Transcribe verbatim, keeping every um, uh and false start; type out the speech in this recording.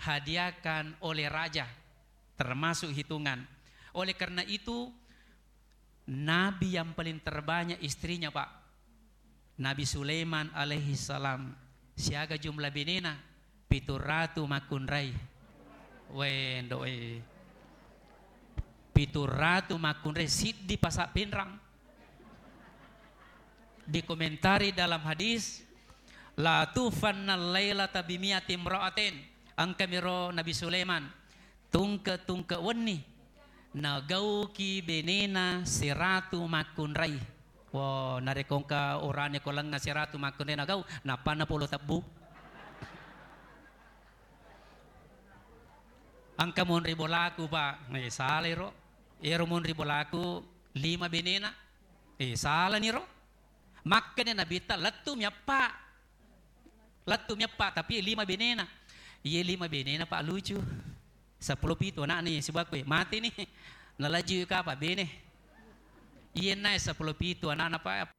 dihadiahkan oleh raja, termasuk hitungan. Oleh karena itu, nabi yang paling terbanyak istrinya, Pak. Nabi Sulaiman alaihi salam, siaga jumlah benena? Pitu ratu makkunrai. Wendo, eh. Pitu ratu makkunrai, siddi pasa' pinrang. Dikomentari dalam hadis, "La tufanna lailata bimiati imra'atin." Engkamiro Nabi Sulaiman, tungke-tungke wenni, nagauki benena siratu makkunrai. Wo, narekko engka urane ko lengnga siratu makkunrai nagau, nappanna polo tebbu. Engka monri bolaku, Pak. Eh, salai ro. Ero monri bolaku lima benena. Eh, salani ro. Makkeda Nabitta, lettu miappa. Lettu miappa, tapi lima benena. Iye lima benena, Pak, lucu. Seppulo pitu anakna iye sibawa koe. Mate ni. Nalaju kapa bene. Iye nae seppulo pitu anakna, Pak.